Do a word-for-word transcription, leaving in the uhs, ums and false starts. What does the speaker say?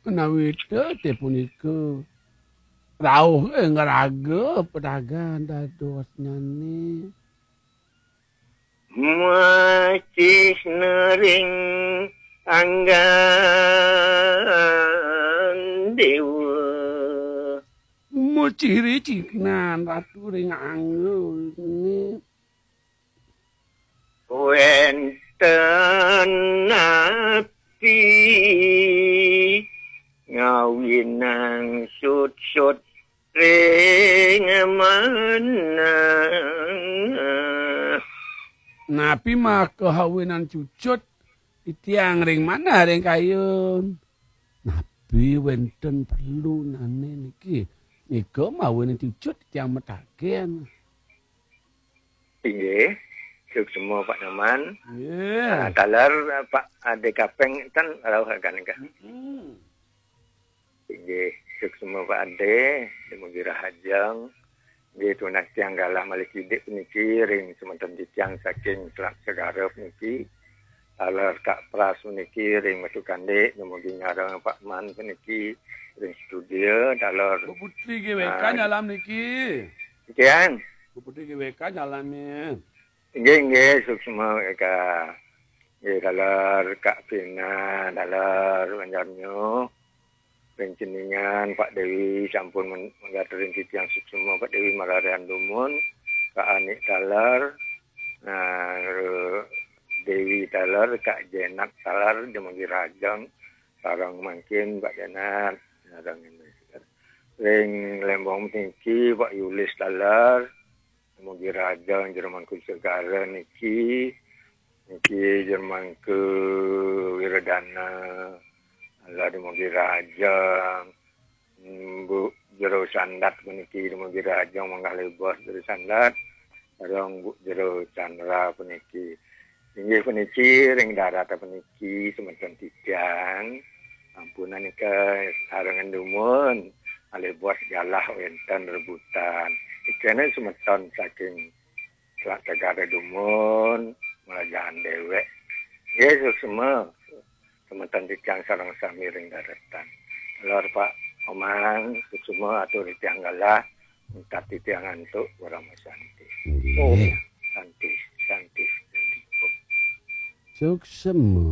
Menawi te punika rauh ing raga pedagang dadosnyane. Macihna ring anggan dewa. Muciri cihnan ratu ring anggane. Wenten napi ngawinang sutsut ring manah. Napi maka awinan cucut titiang ring manah ring kayun? Napi wenten perlunane niki? Nika mawinan cucut titiang mataken. Inggih, suksma Pak Nyoman. Nggih. Ah, taler, Pak Ade Kapeng ten rauh agan nggih. Mm-mm. Inggih, suksma Pak Ade, dumugi rahajeng. Nggih, tunas tiang galah malih kidik puniki ring semeton titiang saking Selat Segara puniki. Taler Kak Pras puniki ring Metu Kandik, dumugi nyareng Pak Man puniki ring studio. Taler Bu Putri G W K, ah, nyalam niki. Sekian. Bu Putri G W K nyalam ya. Inggih, inggih, suksma Eka. Nggih, taler Kak Pina, taler Banjarnyo. Ring Ceningan, Pak Dewi sampun men-, manggatur ring titiang suksma, Pak Dewi mararian dumun, Kak Anik taler, nah, Dewi taler, Kak Jenat taler, dumugi rahajeng, sareng mangkin Pak Jenat, sareng ring Lembong niki, Pak Yulis taler, dumugi rahajeng, Jerman Segara niki, niki Jerman ke Wiradana, Allah dumugi rahajeng, Bu Jero Sandat puniki dumugi rahajeng manggah lebos Jero Sandat, sareng Bu Jero Chandra puniki. Inggih puniki ring darat puniki semeton titiang. Ampunang nika sarengan dumun, malih bos galah wenten rebutan. Ikene semeton saking Selat Segara dumun, melajahan dewek. Nggih, suksma. Semeton titiang sareng sami ring daretan. Lor Pak Omang, suksma atur titiang galah, mungkat titiang antuk Parama Santi. Nggih. Om Santi, Santi, Santi. Om. Suksma.